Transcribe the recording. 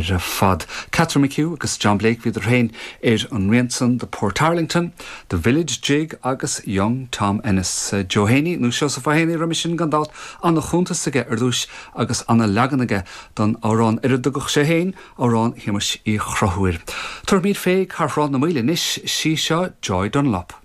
Fad. Catherine McHugh agus John Blake, bhíodar féin ar an rian san The Portarlington, The Village Jig agus Young Tom Ennis. Joe Héiní, nó Seosamh Ó Héanaí roimis sin gan dabht, ana-chuntas aige ar dtúis agus ana-leagan aige don amhrán ar a dtugadh sé féin Amhrán Shéamuis Uí Chonchúir. Tabharfaimid fé Cathráth na Maoile anois, sí seo Joy Dunlop.